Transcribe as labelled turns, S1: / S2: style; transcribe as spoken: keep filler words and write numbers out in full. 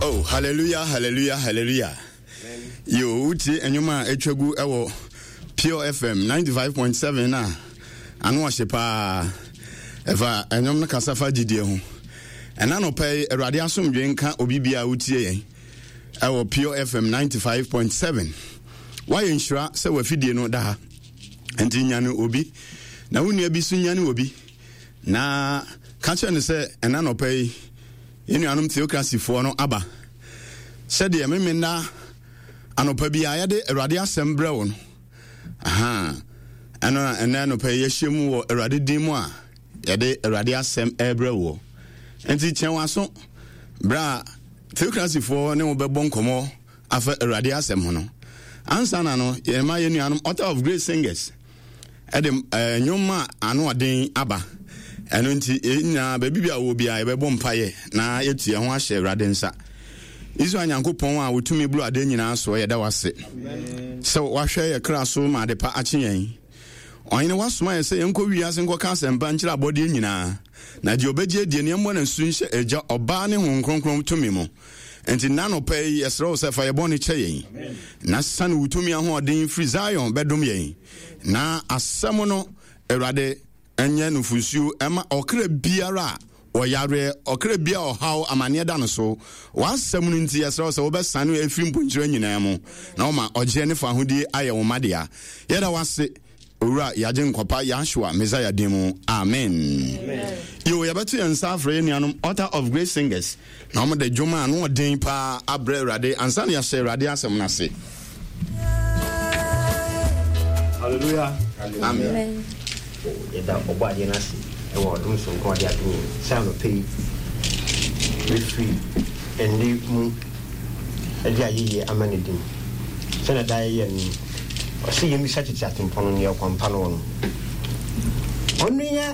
S1: Oh, hallelujah, hallelujah, hallelujah. Yo, wotie nnwom a atwa gu ɛwɔ Pure F M ninety-five point seven a ano ɔhye paa. Ɛfa nnwom no kasa fa gyidie ho. Ɛna nɔpɛ yi, Awurade asomdwe nka obi bia a wotie yɛn ɛwɔ Pure F M ninety-five point seven. Woayɛ nhyira sɛ wafidie no da ha. Nti nyane obi na wo nua bi so nyane obi na ka kyerɛ no sɛ ɛna nɔpɛ yi yɛn nuanom theocracyfoɔ no aba sɛdeɛ Memenda anɔpa bi a yɛde Awurade asɛm brɛ wo no. Aha ɛno na ɛnɛ anɔpa yi yɛahyia mu wɔ Awurade din mu a yɛde Awurade asɛm ɛrebrɛ woɔ. Nti kyɛn w'aso berɛ a theocracyfoɔ ne wo bɛbɔ nkɔmmɔ afa Awurade asɛm ho no. Ansa na no, yɛma yɛn nuanom Altar of Grace Singers ɛde ɛɛ nnwom a ano ɔden aba. Ɛno nti yɛn nyinaa, baabi bi a wɔ biara, yɛbɛbɔ mpaeɛ na yɛtu yɛn ho ahyɛ Awurade nsa. Israel Nyankopɔn a wotumi buru adeɛ nyinaa soɔ, yɛda wase sɛ wahwɛ yɛ kra so ma ade pa akye yɛn. Ɔhene, wasoma yɛ sɛ yɛnkɔ wiase nkɔka asɛmpa nkyerɛ abɔdeɛ nyinaa, na deɛ ɔbɛgye adie ne yɛmmɔ no asu nhyɛ Agya, Ɔbaa ne Honhom Kronkron tumi mu. Nti nna nɔpɛ yi yɛsrɛ wo sɛ fa yɛ bɔne kyɛ yɛn na sane wo tumi ahoɔden firi Zion bɛdom yɛn, na asɛm no, Awurade, ɛnyɛ nufusuo ɛma ɔkra biara a ɔyareɛ, ɔkra bi a ɔhaw amanneɛ da no so. W'asɛm no nti yɛsrɛ wo sɛ wobɛsane afiri mponkyerɛ nyinaa mu na woma ɔgyeɛ ne fa ahodie ayɛ wo ma dea. Yɛda wase, Owura yɛagye nkɔpa Yahshua Messiah din mu, amen. Yo, yɛbɛto yɛn nsa afrɛ yɛn nuanom Altar of Grace Singers na wɔde dwom a ano ɔden paa abrɛ Awurade ansa na yɛahyɛ Awurade asɛm no ase.
S2: Hallelujah.
S1: Amen.
S2: Yɛda ɔbɔ adeɛ no ase ɛwɔ ɔdom sonko a ɔde adom yɛn sɛ anɔpɛ yi refiri ɛnne mu ɛde ayɛyie ama ne din sɛnɛ da yɛyɛ no. Ɔsɛ yɛmmisa tete atempɔn no neɛ ɔkwampa no wɔ no ɔno yɛ.